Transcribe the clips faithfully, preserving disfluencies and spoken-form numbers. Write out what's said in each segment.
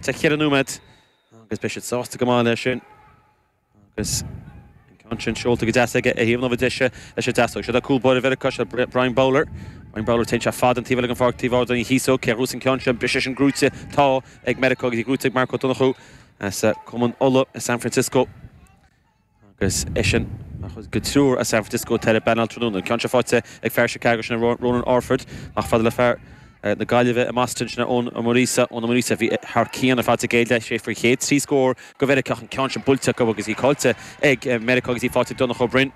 Sa cheithre nóiméad agus beidh siad sásta go maith leis sin agus an ceann sin seolta go deas aige ar thaobh na láimhe deise leis an deasóg. Seo é cúl báire Mheiriceá, seo Brian Bowler. Brian Bowler téann sé fada an taobh eile den pháirc taobh ard an chíosóg cé a ghnóthós an ceann sin briseadh sin gnóite tá ag Meiriceá agus í gnóite ag Mark Ó Donnchú as Cumann Uladh i San Francisco. Agus eisean mar chuid de triúr as San Francisco atá ar an bpainéal tráthnóna. An ceann seo faighte ag fear Chicago sin Ronan Orford ach fada le fear na Gaillimhe i mBoston sin Eoin Ó Muiríosa Eoin Ó Muiríosa a bhí thar cionn ar fad sa gcéad leath sé faoi chéad trí scór go Mheiriceá an ceann sin buailte acu agus í caillte ag Meiriceá agus í faighte ag Donncha Ó Broin.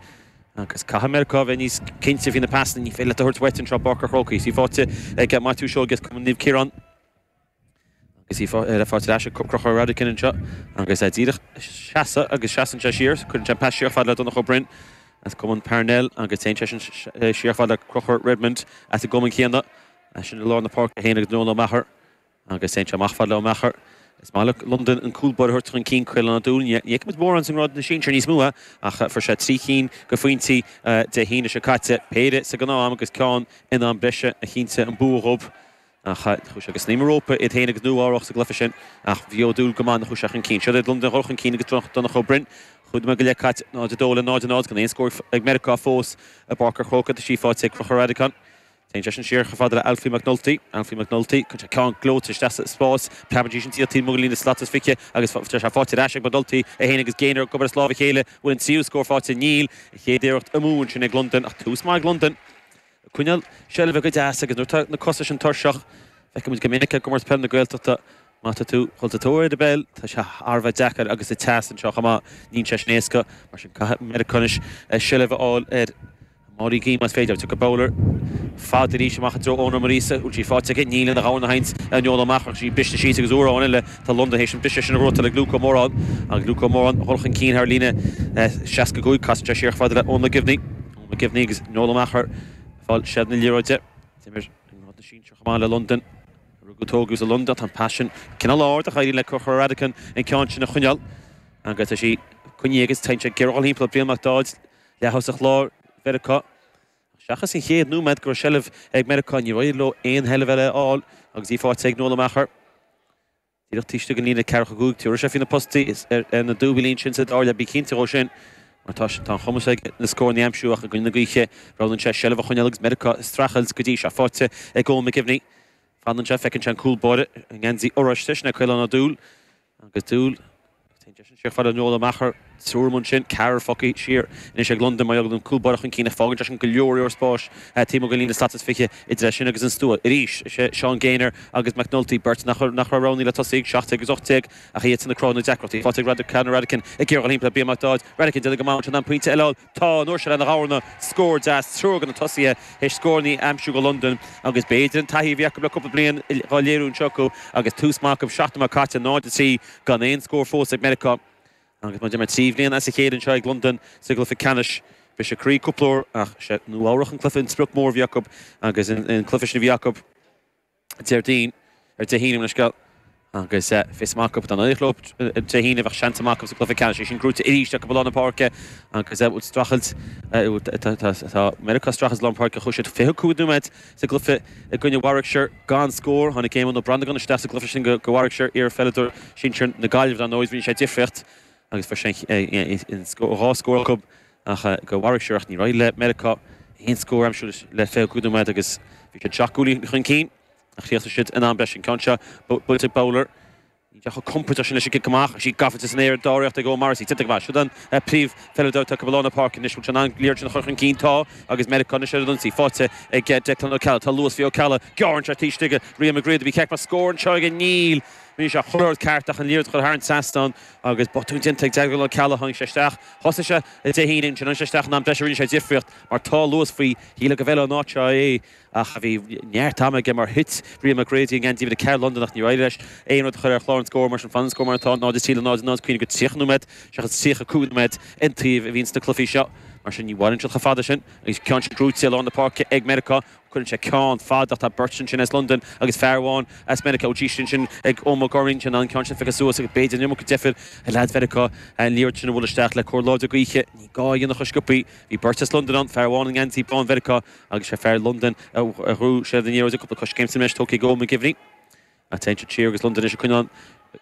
Agus caithfidh Meiriceá bheith níos cinnte faoi na pasanna ní féidir leat a thabhairt uait anseo i bPáirc an Chrócaigh. Is í faighte ag Maitiú Seoighe as Cumann Naomh Ciarán. Agus í le fáilte ar ais ag Conchúr Radican anseo agus é díreach seasamh agus seasann sé siar, cuireann sé an pas siar fad le Donncha Ó Broin as Cumann Parnell agus téann sé sin siar fad le Conchúr Redmond as an gcumann céanna. Sin i lár na páirce féin agus Noel Ó Meachair agus téann sé amach fad le Ó Meachair. Is maith le Londain an cúl báire a thabhairt chun cinn Caolán Ó Dúill. Ní fheicimid mórán sa ngrád na sinsear níos mó ach fuair sé trí chinn de phointí Dé hAoine seo caite, péire sa ghnáth-am agus ceann in am breise a chinntigh an bua dhóibh. Ach chuaigh sé go snaidhm an rópa iad féin agus Nua-Eabhrac sa gcluiche sin ach bhí Ó Dúill go maith nuair a chuaigh sé chun cinn. Seo iad Londain ag dul chun cinn agus Donncha Ó Broin. Cúig nóiméad go leith caite, náid a dó le náid a náid gan aon scór ag Meiriceá fós i bPáirc an Chrócaigh. Tá sí faighte ag Conchúr Radican. Téann seisean siar chomh fada le Alfie McNulty. Alfie McNulty, cuireann sé ceann gleoite isteach sa spás. Preabann sí sin taobh amuigh den líne slat is fiche agus tá sé faighte ar ais ag McNulty é féin agus Gaynor ag obair as lámh a chéile. Bhfuil an tríú scór faighte? Níl. An chéad iarracht amú ansin ag Londain ach tús maith ag Londain. Ag coinneáil seilbhe go deas agus nuair atá na cosa sin tuirseach, feicimid go minic i gcomórtas peile na Gaeltachta, má tá tú dul sa tóir ar an bpeil, tá sé thar a bheith deacair agus sa teas anseo chomh maith, níl sé sin éasca, mar sin caithfidh Meiriceá anois seilbh a fháil ar Mháirí Guí más féidir. Tiocfaidh Bowler fada arís amach i dtreo Eoin Ó Muiríosa, bhfuil sí faighte aige? Níl ina ghabhann a sheinnt ar Noel Ó Meachair ach sí briste síos agus uair amháin eile tá Londain théis an briseadh sin a ghnóthachtáil ag Luke Ó Móráin agus Luke Ó Móráin a dhul chun cinn thar líne seasca cúig, casann sé siar chomh fada le Eoin McGivney. Eoin McGivney agus Noel Ó Meachair. Fáil seilbh na liathróide. D'imir i ngrád na sinsear chomh maith le Londain. Rugadh tógadh sa Londain. Tá an pas sin cineál ard ach éiríonn le Conchúr Radican an ceann sin a choinneáil. Agus tá sí coinnithe agus téann sé ag iarraidh dul thimpeall Brian Mac Dáid, leath-thosach láir Mheiriceá. Seachas an chéad nóiméad go raibh seilbh ag Meiriceá níor éirigh leo aon sheilbh eile a fháil agus í faighte ag Noel Ó Meachair. Díreach taobh istigh den líne ceathracha cúig, tabharfaidh sé faoi na postaí ar na dúbailí ansin sa dara leath, bí cinnte dhó sin mar tá tá an chumas aige na scóranna a aimsiú ach i gcoinne na gaoithe roghnaíonn sé seilbh a choinneáil agus Meiriceá ag streachailt go dtí seo. Faighte ag Eoin McGivney. Fanann sé, feiceann sé an cúl báire i ngeansaí oráiste, sin é Caolán Ó Dúill agus Dúill. Téann seisean siar fada le Noel Ó Meachair, triúr amuigh ansin, ceathrar fágtha siar anois ag Londain mar gheall ar an gcúl báire chun cinn ach fágann sé sin go leor leor spáis taobh amuigh den líne slat is fiche idir é sin agus an stua. Arís, is é Seán Gaynor agus McNulty, beirt nach raibh roghnaithe le tosaí ag seacht déag agus ocht déag ach iadsan ag cruthú na deacrachtaí. Faighte ag Radican, Radican ag iarraidh dul thimpeall Brian Mac Dáid, Radican déanamh go maith ansin an pointe eile a fháil. Tá, an uair seo lena dhorna, scór deas, triúr de na tosaithe théis scóranna a aimsiú do Londain agus b'fhéidir an taithí a bhí acu le cúpla bliain á léiriú anseo acu agus tús maith acu, seacht nóiméad caite, náid a trí gan aon scór fós ag Meiriceá. Agus má d'imir trí bhliain as a chéile anseo ag Londain sa gcluiche ceannais, briseadh croí cúpla uair ach sé Nua Eabhrac an cluiche, an sprioc mór a bhí acu agus an cluiche sin a bhí acu. Déardaoin, ar Dé hAoine, mo leithscéal, agus fios maith acu dá n-éireodh leo Dé hAoine bheadh seans maith acu sa gcluiche ceannais. É sin gnóite arís acu i lár na páirce agus bhfuil streachailt, tá Meiriceá ag streachailt i lár na páirce. Chuaigh siad fiche cúig nóiméad sa gcluiche i gcoinne Warwickshire gan scór. Tháinig Éamonn Ó Brannagáin isteach sa gcluiche sin do Warwickshire, iar-pheileadóir sinsir na Gaillimhe dar ndóigh. Rinne sé difríocht agus fuair sé dhá scór acu ach do Warwickshire ach níor éirigh le Meiriceá aon scór a aimsiú le fiche cúig nóiméad agus bhí siad seacht gcúilín chun cinn. Ach chríochnaigh siad in am breise an ceann seo buailte ag Bowler. Níl sé chomh compordach sin leis an gcic amach. Is í gafa san aer dáiríreacht ag Eoin Morrissey. Déanta go maith. Siúd an príomhpheileadóir atá acu i lár na páirce anois. Bhfuil sé in ann an liathróid sin a chur chun cinn? Tá. Agus Meiriceá anois ar an ionsaí. Faighte ag Declan Ó Ceallaigh. Tá luas faoi Ó Ceallaigh. Gearrann sé taobh istigh de Rian Mac Riada. Bhí ceart mar scór anseo aige. Níl. Rinne sé chuile rud ceart ach an liathróid a chur thar an trasnán agus botún déanta ag Declan Ó Ceallaigh. Tháinig sé isteach. Thosaigh sé Dé hAoine ansin. Tháinig sé isteach in am breise. Rinne sé difríocht mar tá luas faoi. Shílfeá go bhfeilfeadh an áit seo é. Ach bhí neart ama aige mar thit Rian McGrady i ngeansaí uimhir a ceathair Londain ach níor éirigh leis aon rud a chur ar chlár an scóir mar sin fanann an scór mar atá, náid a trí le náid a náid cuimhnigh gur tríocha nóiméad seachas tríocha cúig nóiméad an taobh a bhíonn sna cluichí seo. Mar sin ní mhaireann siad chomh fada sin agus ceann sin gnóite i lár na páirce ag Meiriceá. Cuireann sé ceann fada ach tá beirt ansin as Londain agus fear amháin as Meiriceá. Ó sin sin ag Eoin McGorrin sin an ceann sin feicthe suas agus b'fhéidir an iomarca deifir ag leaids Mheiriceá an liathróid sin a bhualadh isteach le cóir láidir gaoithe. Ní gá a dhéanamh chomh sciobthaí. Bhí beirt as Londain ann, fear amháin i ngeansaí bán Mheiriceá agus sé fear Londain a ghnóthaigh seilbh na liathróide. Cúpla coiscéim san anois tógtha ag Eoin McGivney. Ach téann siad siar agus Londain anois ag coinneáil